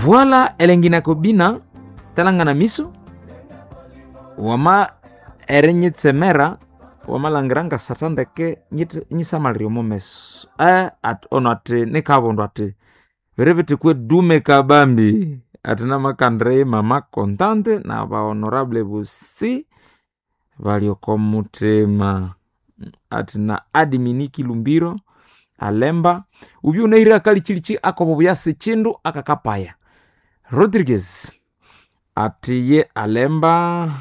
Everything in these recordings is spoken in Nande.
Voila elengina kobina talangana miso wama erinyitsemera wamalhangira ngasatha ndeke nyisamalire omo meso ono ati nikabundu ati biri bithi kwedume kabambi ati namakandire mama kontante naba honorable bosi bali oko muthima ati na admini Kilumbiro alemba ubye unahire akalikyilichi akobubuya sikyindu akakapaya Rodriguez ati ye alemba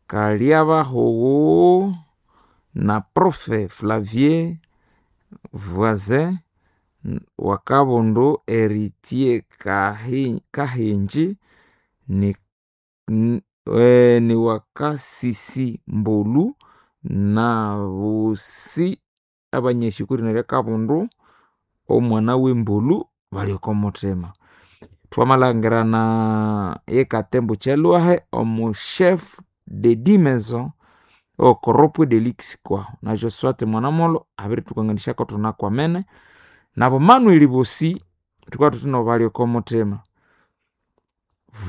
Kaliabahogo na profe Flavier Voisin wakabundu Eritier Kahinji ni wakasisi Mbolu na bosi abanyeshikuri nerya kabundu omwana w'embolu bali oko muthima. Twamalhangirana ye Katembo Kyalwahe omu chef de dix maisons okoropwe delix kwahu na Josphat Mwanamolho abirithukanganyisako thunakwamene nabo Manuel bosi thukabya thuthino bali oko muthima.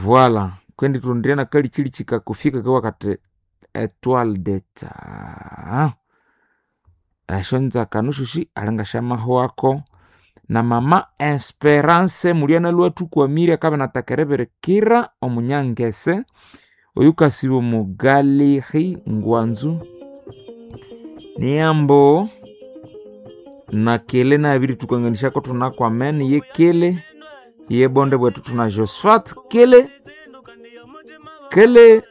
Voila kwendi thurondire nakalikyilichi kakofi kakabugha kathi Etoile d'Etat esyonzakano syosi alingasyamahwako na mama Esperance mulyanalwa athukwamire akabya inathaka eribirikira omunyangese oyukasiba omu Galerie Ngwanzu niyambo na kele nabirithukanganyisako thunakwamene ye kele ye bonde bwethu thuna Josphat kele kele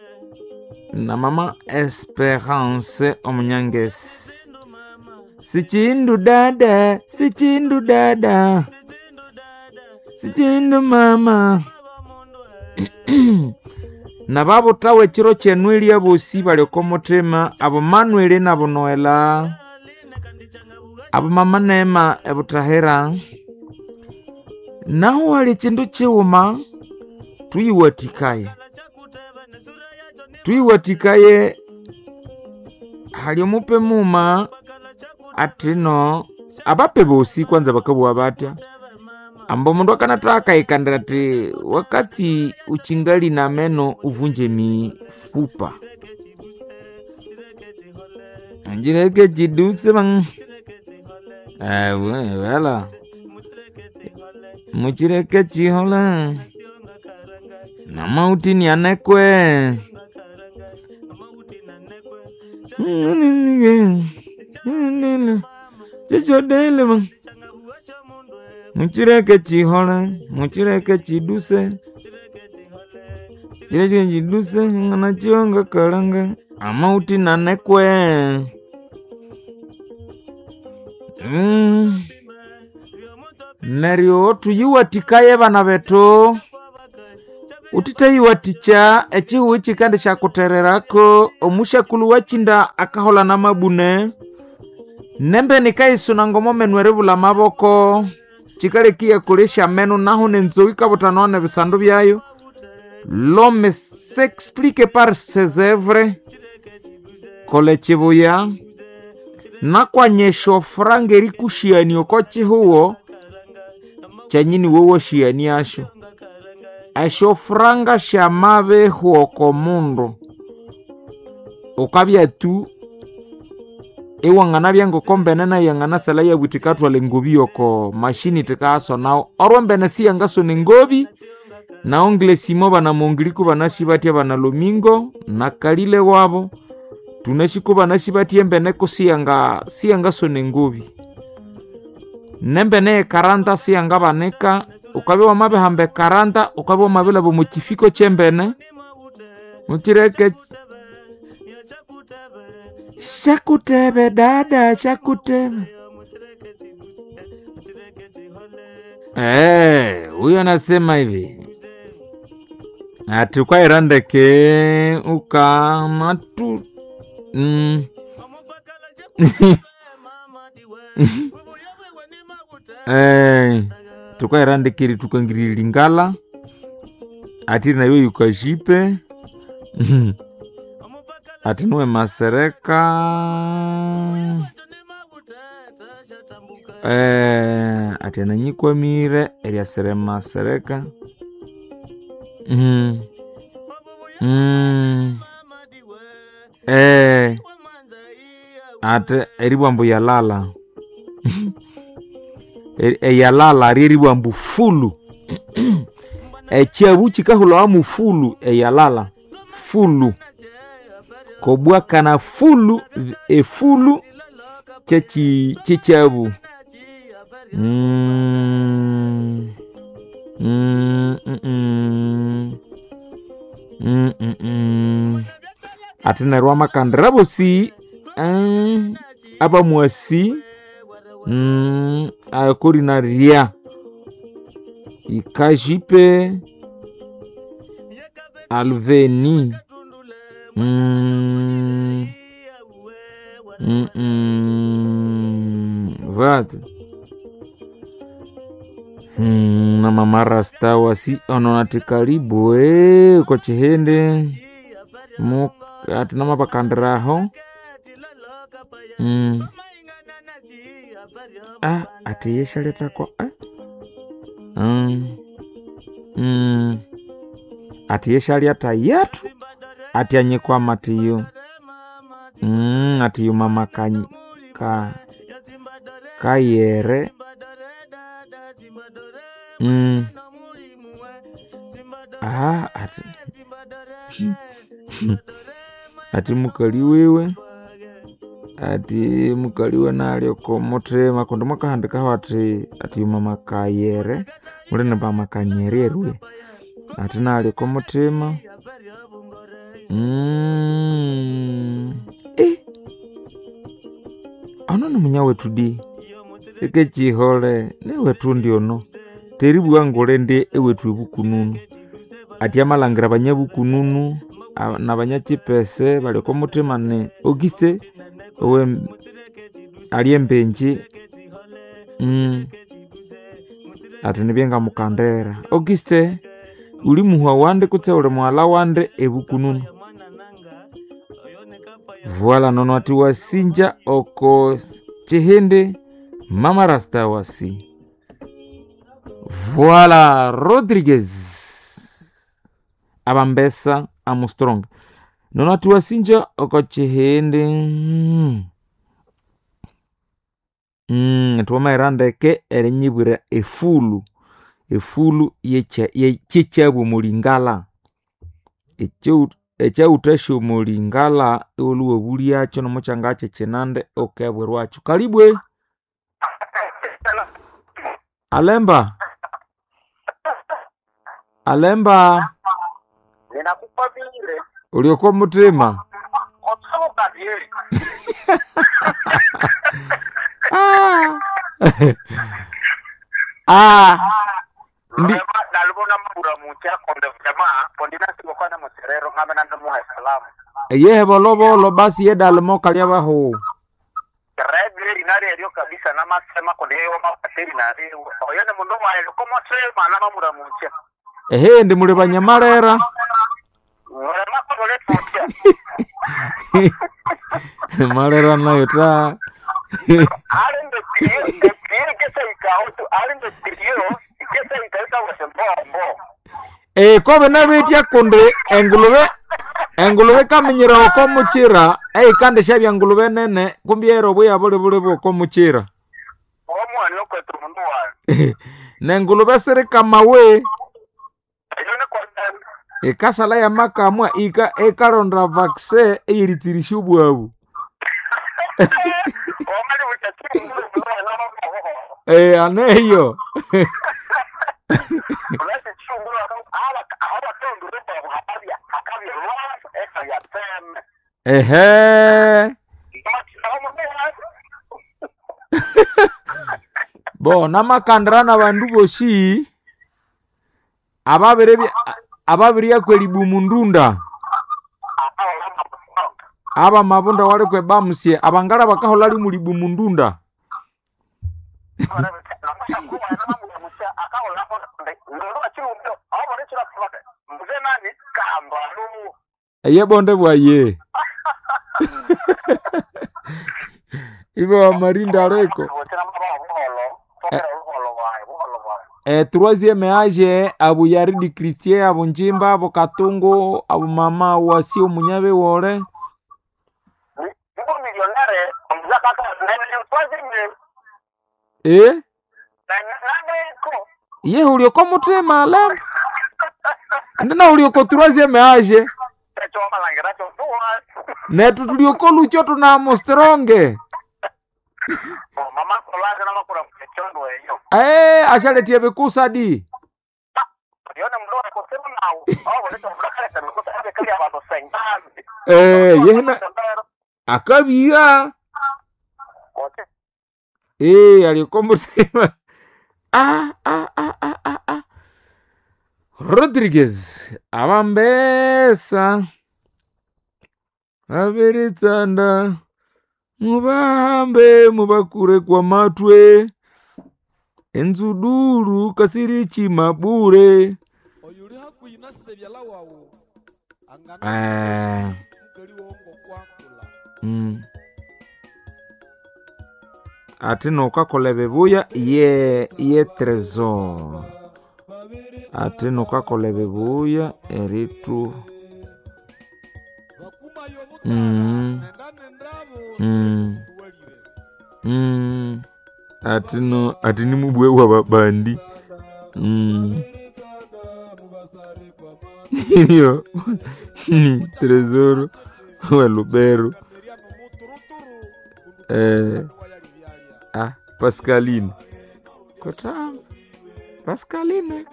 na mama Esperance omunyangesi. Sichindu dada, sichindu dada, sichindu mama. Nababuthawa ekiro kyenweli abosi bali oko muthima abo Manuel nabo Noela abo mama Neema ebuthahira. Nahu hali ekindu kighuma tuyiwathikaye, tuyiwathikaye hali omupe mughuma athino abape bosi kwanza bakabugha batya ambu omundu akanatha akayikandira athi wakati uchingali na meno uvunje mifupa ngireke kiduse bang wala mukireke kihola namauti nianekwe kyikyodele bang mukireke kihole mukireke kiduse kireke kiduse nganakiwa ngakalanga amauti nanekwe. Neryo tuyiwathikaye bana bethu uthithayiwathikya ekihugho ikikandisyakutererako omusyakulhu wakyinda akaholha namabune nembeni ikayisuna ngomomenu eribulha amaboko kikaleka iyakolesya amenu nahu nenzogho ikabuthanwa nebisandu byayo. L'homme s'explique par ses œuvres kola ekibuya nakwanya esyofuranga erikusyania oko kihugho kyanyini wowosyaniasyo. Esyofuranga syamabihwa oko mundu wukabya tu iwanganabya ngoko mbene nayu yanganasalha iyabugha yikathwalha engobi yoko machine thikayasonawo orwa mbene siyangasona engobi na ongle Simo bana Mongiliko banasi bathya bana Lomingo na Kalile wabo tunasi kubanasi bathya embene ko siyangasona engobi nembene ekaranta siyangabanika wukabya wamabihamba ekaranta wukabya wamabilhaba omo kifiko kyembene mukireke syakutebe dada syakutebe. Huyo anasema hivi ati ukaira ndeke ukamatu tukaira ndeke ritukangirira lingala ati nayo yukajipe ati nuwe masereka ati ananyikwamire eryasere masereka. Ate eribwa ambu yalala. Eyalala ryeribwa ambu fulu. Ekyabu kikahulawa mu fulu eyalala fulu kobwakana fulu efulu kyekyabu. Ate neryo wamakandira abosi abamwasi akorina rya ikajipe alveni. Vat na mama rasta wasi ono ati karibu ko chihindi mu ati namapakandiraho. Ati yeshaletako Ati yeshalyata yetu ati anyikwama atiyo atiyo mama kayere. Ati ati mukali wiwe ati mukali nalyo komuthima kundi mwakahandikaho ati ati mama kayere mulini mama kanyererwe ati nalyo komuthima. Ono ni munya wetu di ikechihole niwetu ndi ono teribugha ngule ndi ewethu ebukununu ati amalhangira banyabukununu nabanyakipese bali okomuthima ni Auguste owe ali embenji. Ati nibye ngamukandira Auguste uli muhwa wandi kutse uli mughalha wandi ebukununu. Voila nono ati wasinja oko chihindi mama rasta wasi. Voila Rodriguez abambesa Armstrong nono ati wasinja oko chihindi. Twamaghira ndeke erinyibwira efulu efulu yekyekyabu omulingala ekyawuthasya omulingala iwulhuwa obulyakyo nomukyanga kyekyinandi wukebwirwakyo. Kalibwe alemba alemba Ninakupa vile uli oko muthima. otsoka vile Ndi nalubona mabura mucha konde jamaa kondina sikokwana muserero ngame nando muha salamu yehe bolobolo basi yedalimo kalya bahu rebile linali elyo kabisa namasema konde yeyo mapateri nali oyo ne mundu wae komotsema namabura mucha ehe ndi muli banyamalera mulema kondole mucha malera nayo ta ali ndo trio trio kesa ikautu ali ndo trio kesa ikauta wasembombo kobe nabitya kundi engulube engulube kaminyira oko muchira eikandi syabya ngulube nene kumbi era obuya buli buli bwoko muchira omwani okwetu mundu wae nengulube sirikamawe eyo ne konde ikasala yamakamwa ika ikaronda vaccine eyeritsirisya obwabu. omali buchachiri mundu wae namahoho Aneyo ehe bo namakandira nabandu bosi ababiryaku eribumu ndunda aba mabunda walikwe bamusye abangala bakahola limu libumu ndunda. Eye bonde bwaye ibo wamarinda aleko. Troisième age abu Yaridi Christie, abu Njimba, abu Katungu, abu mama wasi omunyabe wole. Niko millionnaire omuzakaka nene Eh? nane ko. Ye ulioko mutima lemba. Ndina ulioko troisième age. Echo malangira cho tuwa. Netu tulioko lucho tunamo stronge. Mama kolaje na makura mchondo eyo. Eh, ashaletie bikusadi. Yone mlo akosema nawo. Awo leto mlakale kana kosa abe kali abantu sengazi. Eh, yehena akabia. Okay. Eh, alioko mutima. Ah, ah, ah, ah, ah, ah. Rodriguez abambesa abiritsanda mubahambe mubakure kwa matwe enzuduru kasirichi mabure. Oyuli hakuhi nasebyala wawu angana Eh, mukali wongo kwakula. Ati nokakola ebibuya ye ye trésor, ati nokakola ebibuya eritu Bakumayo mutara nenda nendabo tuwalire. Ati no ati ni mubwe wa babandi. Iyo ni trésor wa Lubero. Kameria nomuturuturu Eh, wayali byalya. ah, Pascaline kota Pascaline,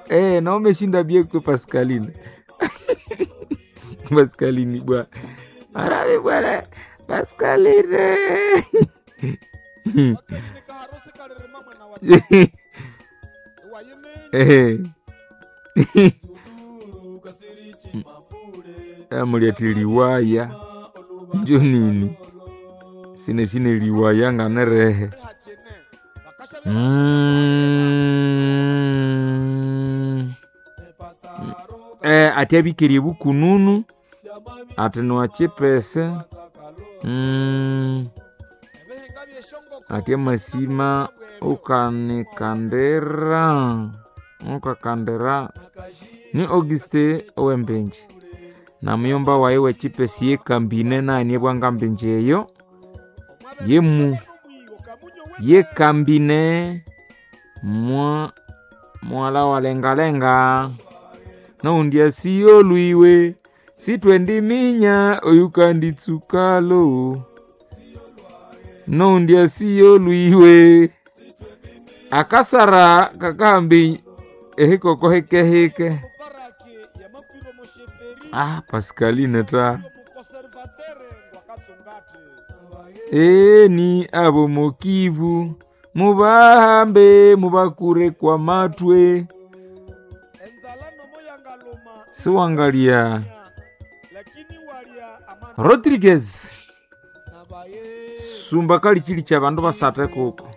eh, na umeshinda bie kwa Pascaline. Pascaline bwa arabi bwana Pascaline. Wakalini kaharusi kalirima mwana wa wayimenya Eh. Amuliati liwaya njo nini sine sine liwaya nganerehe. hachene bakasha Eh, ati abikirie bukununu ati niwachipese. Ebihinga byeshongoko Ati amasima ukanikandira ukakandira ni Auguste owembenji na muyomba wayi wechipesi yekambine nanie bwangambinji eyo yemu yekambine mwa mwala walengalenga naundi asiyo lwiwe sitwendiminya oyukanditsukalo naundi asiyo lwiwe akasara kakahambi ehikoko hikehike. Parake yamakwiro mosheferi Ah, Pascaline ta mukoservatere ngwakatsungate. Eni abo mokivu mubahambe mubakure kwa matwe. Enzala nomo yangaluma Siwangalia lakini walya amana Rodriguez nabaye sumba kali chili cha bandu basate kuko.